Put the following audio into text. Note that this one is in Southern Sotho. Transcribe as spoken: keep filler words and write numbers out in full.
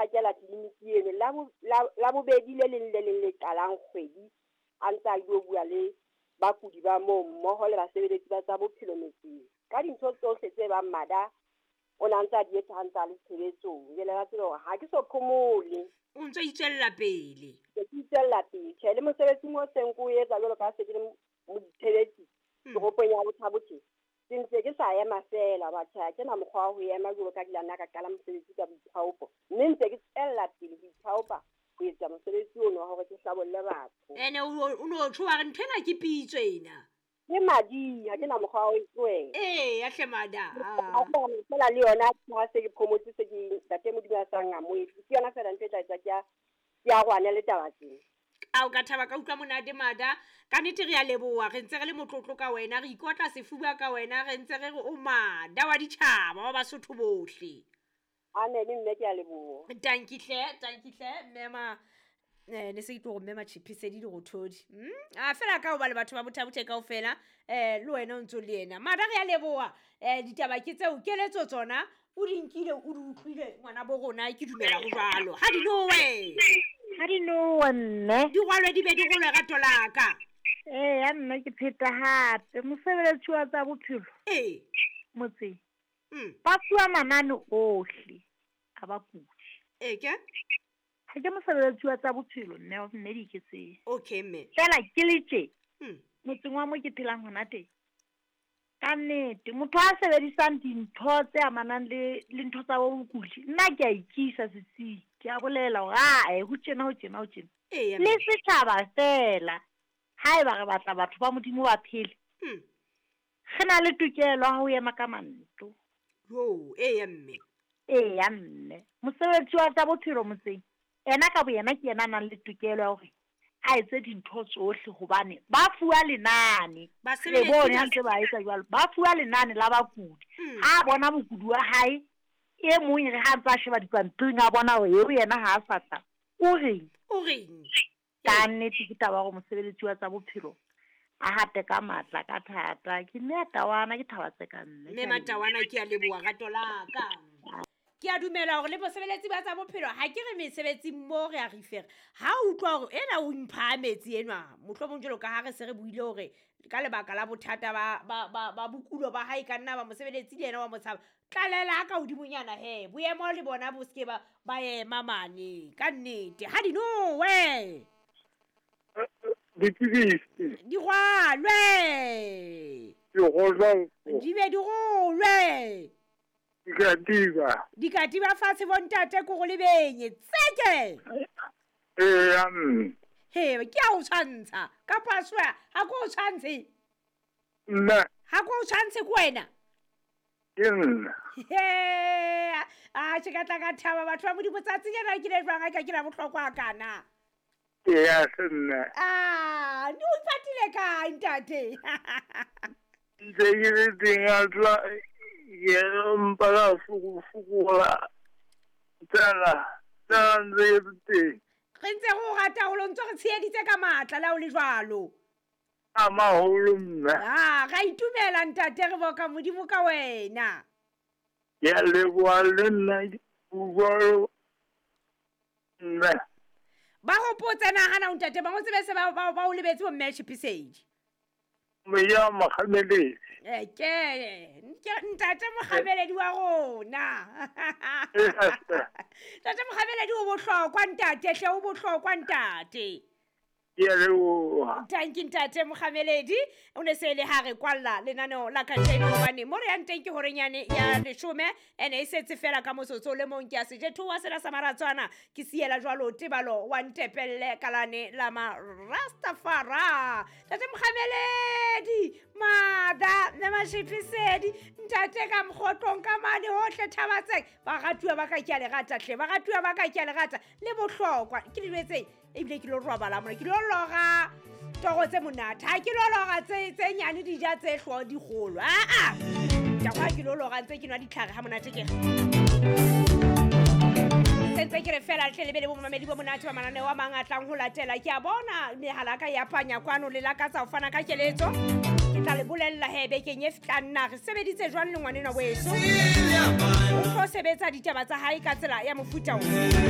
phakela tleliniki eno la la bobedi le leng le leng le qalang kgwedi a ntse a ilo bua le bakudi ba moo mmoho le basebeletsi ba tsa bophelo metseng ka dintho tsohle tse bang mada o na ntse a di etsa ha ntse a le tshebetsong. Jwale ba tsebe hore ha ke so phomole, o ntso itswella pele. Ke itswella pele. Tjhe, le mosebetsing o seng ko etsa jwalo ka se ke le moditshebetsi toropong ya Botha-Bothe, ke ntse ke sa ema feela batho ha ke na mokgwa wa ho ema jwalo ka ke la nna ka qala mosebetsi ka boithaopo, mme ntse ke tswella pele ho ithaopa ho etsa mosebetsi ono wa hore ke hlabolle batho. Ene o no tjho wa re ntho ena ke pitso ena. Ke madi, ha ke na mokgwa wa ho e tlohela. Ee, ya hle mada. Feela le yona ha se ke phomotse se ke ntate Modimo a sa nkamohetse, ke yona feela ntho e tla etsa ke a ke arohane le taba tsena. A o ka thaba ka utlwa monate mada. Ka nnete re a leboha, re ntse re le motlotlo ka wena, re ikotla sefuba ka wena, re ntse re re o mada wa ditjhaba wa Basotho bohle. Amen, mme ke a leboha. Tanki hle, tanki hle, mme ma eh ne se ke tlo go mme Matšhiphisedi Lerothodi. Mm? A fela ka hoba le batho ba Botha-Bothe kaofela, eh le wena o ntso le yena. Mada re a leboha. Eh ditaba ke tseo, keletso tsona o di nkile o di utlwile ngwana bo rona, ke dumela ho jwalo. Ha di nowe. Ha di nowe mme. Di rwalwe di be di rolwe rato la ka. Ee, ya nna ke pheta hape mosebeletsi wa tsa bophelo. Ee. Motseng. Mm. Ba fuwa manane ohle a bakudi. Ee ke? Ha ke mosebeletsi wa tsa bophelo mme mme di ke tse. Okay mme. Fela ke le tje. Mm. Motseng wa mo ke phelang hona teng. Ka nnete motho a sebedisang dintho tse amanang le le ntho tsa bokudi, nna ke a ikisa setsing, ke a bolela hore ae ho tjena ho tjena ho tjena. Ee, Le setjhaba fela haeba re batla batho ba Modimo ba phele, Mm. re na le tokelo ya ho ema ka manto. Yo, ee mme. Ee mme. Mosebetsi wa tsa bophelo motseng ena ka boyena ke yena a nang le tokelo ya hore a etse dintho tsohle hobane ba fuwa lenane. Basebeletsi Re bone ba- ha ntse ba etsa jwalo, ba fuwa lenane la bakudi. Mm. Ha a bona mokudi wa hae e mong re ha ntse a sheba dipampiring a bona hore eo yena ha a sa tla, o reng? O reng? Ka nnete ke taba ya hore mosebeletsi wa tsa bophelo a hate ka matla ka thata. Ke mme Tawana, ke thaba tse ka mme. Mme Matawana ke a leboha rato la ka. Ke a dumela hore le bosebeletsi ba tsa bophelo ha ke re mesebetsing mo re a refera. Ha o utlwa hore ena o mphahametse enwa, mohlomong jwalo ka ha re se re buile hore ka lebaka la bothata ba ba ba ba bokulo ba hae ka nna ba mosebeletsi le yena wa motshaba. Tlalela ka hodimonyana he, boemo le bona bo seke ba ba ema mane. Ka nnete, ha di nowe. Dipidisi. Di rwalwe. Di rwalwe. Di be di rolwe. Dikatiba. Dikatiba fatshe bontate ko go lebenye. Tseke. Ee, mme. He, ke a o tshwantsha. Ka paswa, ha ko o tshwantshe. Nna. Ha ko o tshwantshe ko wena. Ke nna. He, a tjhe ka tla ka thaba batho ba Modimo tsatsi lena ke le jwang ha ka ke la bohlokwa kana. Ke ya se nna. Ah, ne o ipatile kae ntate? Ntse ke le teng a tla ke mpa la fokola. Tsela, tsela ntse e le teng. Re ntse re o rata haholo, ntse re tsheheditse ka matla le ha o le jwalo. A maholo mme. Ah, ra itumela ntate, re boka Modimo ka wena. Ke a leboha le nna jwalo mme. Ba hopotse nahana o ntate, ba ngotse be se ba ba ba o lebetse bo mme Tjhiphisedi. Mme ya Mokgameledi. Eh, ke ke ntate Mokgameledi wa rona. Ntate Mokgameledi o bohlokwa ntate, hle o bohlokwa ntate. Ke a leboha. Thank you ntate Mokgameledi. O ne se le ha re kwalla lenaneo la kajeno hobane mo re yang teng ke horenyane ya leshome, ene e setse fela ka motsotso le mong ke a sejethoa sena sa maratswana ke siela jwalo tebalo wa ntepelle kalane la ma Rastafara. Ntate Mokgameledi, mada le Matšhiphisedi, ntate ka mokgotlong ka mane hohle Thabatseng. Ba ratuwa ba ka ke a le rata hle, ba ratuwa ba ka ke a le rata le bohlokwa. Ke le jwetseng ebile ke lo robala mona, ke lo lora toro tse monate. Ha ke lo lora tse tse nyane di ja tse hlo di kgolo. Ah ah. Ke a ke lo lora ntse ke nwa ditlhare ha monate ke re. Sentse ke re fela tle lebele bo mamedi bo monate ba mananeo a mang a tlang ho latela. Ke a bona mehala ka ya panya kwano le lakatsa ho fana ka keletso. Ke tla le bolella he bekeng e fihlang na re sebeditse jwang le ngwanenwa weso. O tlo sebetsa ditaba tsa hae ka tsela ya mofuta o.